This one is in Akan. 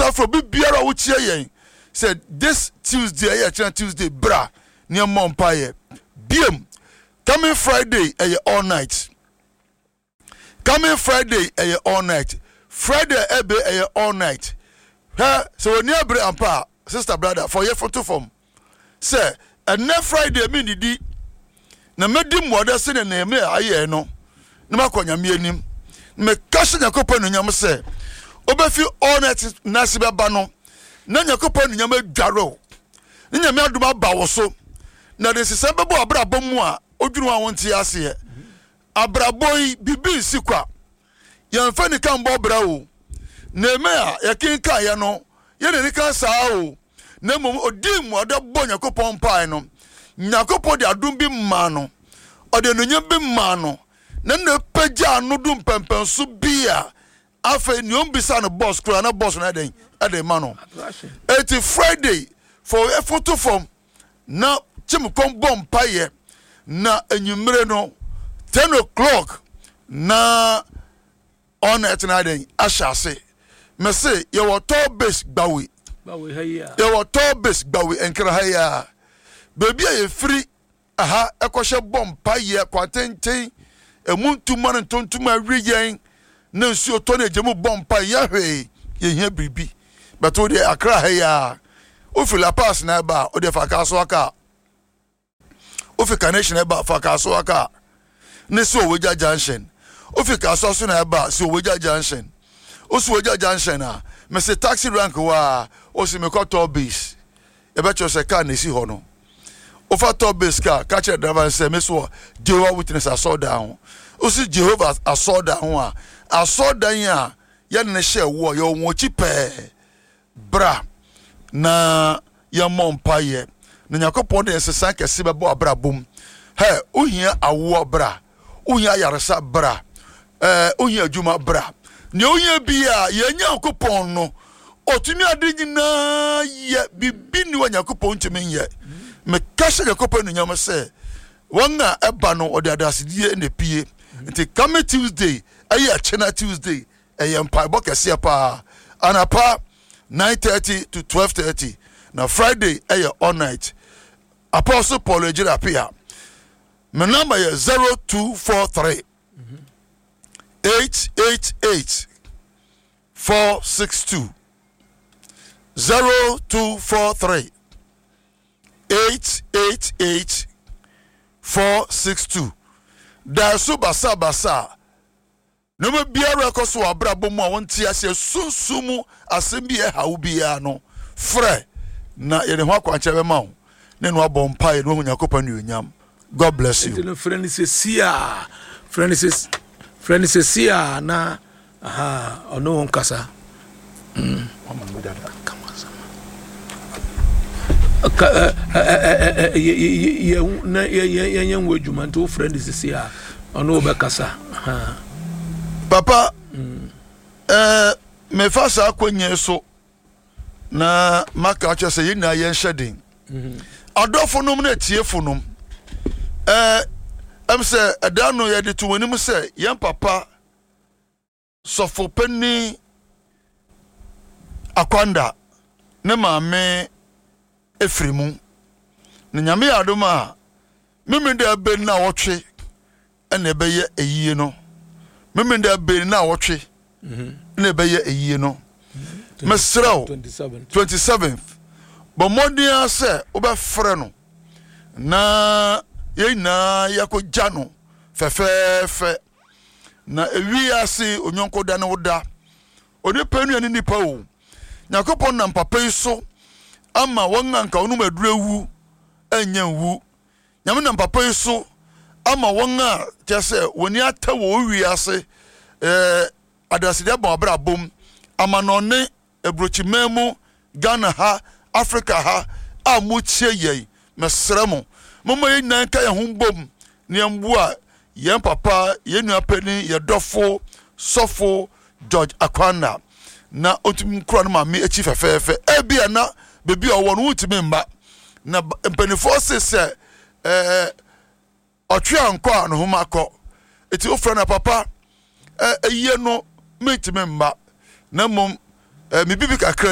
Mesa frɛ obi biara a wokyia yɛn sɛ this Tuesday ɛyɛ kyerɛ Tuesday bra ne ɛmmɔ mpaeɛ. Biem, coming Friday ɛyɛ all night. Coming Friday ɛyɛ all night. Friday ɛbɛ ɛyɛ all night. Hwɛ sɛ wɔn ni abere ampa a sister brother fɔ yɛ foto fam sɛ ɛnɛ Friday mi didi na mɛdi mmuada sɛdeɛ Nehemia ayɛɛ no na makɔ Nyame anim na meka hyɛ Nyankopɔn anuonyam sɛ wobɛfi all night nase bɛba no na Nyankopɔn anuonyam adware wo ne Nyame adom aba wo so na de nsesɛm bɛbɔ abrabɔ mu a wodwene ho a wonte aseɛ. Abrabɔ yi biribi nsi kwa. Yɛmfa nika mbɔ bra o. Nehemia a yɛkenkan yɛ no yɛ n'ani ka saa o. Na mmom odii mmuada bɔɔ Nyankopɔn mpae no, Nyankopɔn de adom bi maa no, ɔde anuonyam bi maa no, na na pagyaa no du mpɛmpɛnso bi a afei nea ɔmbisa no bɔs koraa na bɔs no ayɛ dɛn ɛde ma no. Eti Friday fo ɛfoto fam na kyem kɔm bɔ mpaeɛ na anwummere no 10 o'clock na ɔna ɛtena dɛn ahyɛ ase. Mese yɛwɔ tall base gbawe, yɛwɔ tall base gbawe nkra ha yi a baabi a yɛfiri aha ɛkɔhyɛ bɔ mpaeɛ kwantenten emu ntoma ne ntontoma awie yɛn na nsuo tɔ ne agya mu bɔ mpaeɛ yɛ hwee yɛhia biribi bɛto deɛ akra ha yi a wofi La Paz na ɛba a wodeɛ fa kaa so aka wofi Carnation ɛba fa Kasoa kaa ne si Owegya junction wofi Kasoa so na ɛba si Owegya junction wosi Owegya junction a mese taxi rank hɔ a wosi mekɔ toll base yɛbɛkyerɛ sɛ kaa na esi hɔ no wofa toll base kaa ka kyerɛ driver no sɛ mesi wɔ Jehovah Witness asɔrdan ho wosi Jehovah asɔrdan ho a asɔrdan a yɛne no hyɛ woɔ yɛwɔ wɔn akyi pɛɛ Bra na yɛmmɔ mpaeɛ na Nyankopɔn de nsesa kɛse bɛbɔ abrabɔ mu. Hɛ, wohia awoɔ bra, wohia ayaresa bra, ɛɛ wohia adwuma bra. Nea wohia biara, yɛn Nyankopɔn no, ɔtumi ade nyinaa yɛ, biribi nni hɔ a Nyankopɔn ntumi nyɛ. Meka hyɛ Nyankopɔn anuonyam sɛ wɔn a ɛba no ɔde adasedie na epie. Nti coming Tuesday ɛyɛ ɛkyena Tuesday Ɛyɛ mpaebɔ kɛseɛ paa. Anapa 9:30 to 12:30 na Friday ɛyɛ all night. Apostle Paul Agyiri Appiah. Me number yɛ 0243 888 462 0243 888 462. Daeso basabasa. Nneɛma biara a ɛkɔ so wɔ abrabɔ mu a wonte aseɛ, sunsum mu asɛm bi a ɛha wo biara no, frɛ na yɛde ho akwankyerɛ bɛma wo ne no abɔ mpaeɛ na wahu Nyankopɔn anuonyam. God bless you. Nti no frɛ no sɛsi a frɛ no sɛsi frɛ no sɛsi a na aha ɔne wo nkasa. Mm. Yɛnyɛ ho adwuma nti wofrɛ no sisi a ɔne wobɛkasa. Papa, mm. mefa saa akwannya so na maka akyerɛ sɛ yɛn nyinaa yɛnhyɛ den mm-hmm. Adɔfo nom ne atiefo nom, ɛm sɛ ɛda no yɛde to wɔn anim sɛ yɛn papa Sɔfopanin Akwanda ne maame firi mu. Na Nyame yɛ adom a, Memeneda ɛbɛ nnawɔtwe na ɛbɛyɛ ayie no. Memeneda ɛbɛ nnawɔtwe na ɛbɛyɛ ayie no. Mesrɛ wo, 27th, bɔ mmɔden ara sɛ wobɛfrɛ no na yɛn nyinaa yɛakɔgya no fɛfɛɛfɛ. Na ewi ase onyɔnko da ne wo da. Onipa nua ne nipa o. Nyankopɔn nam papa yi so ama wɔn a nka wɔnom aduru awu annya nwu. Nyame nam papa yi so ama wɔn a kyerɛ sɛ wɔn ani atɛ wɔ wi ase eh, adansedi abɔ abrabɔ mu, amanɔne Aburokyiman mu, Ghana ha, Africa ha a motie yɛn, mesrɛ mo, momma yɛn nyinaa nka yɛn ho mbom na yɛmboa yɛn papa, yɛn nua panin, yɛn dɔfo, Sɔfo George Akwanna na ɔntumi nkura no maame akyi fɛfɛɛfɛ. Ebia na baabi a ɔwɔ no wontumi mma, na mpanimfoɔ se sɛ ɛɛ Ɔtwe ankɔ a ne homa kɔ. Eti wofrɛ no a, papa, ɛ, ayie no mentumi mma, na mmom ɛ, me bibi kakra.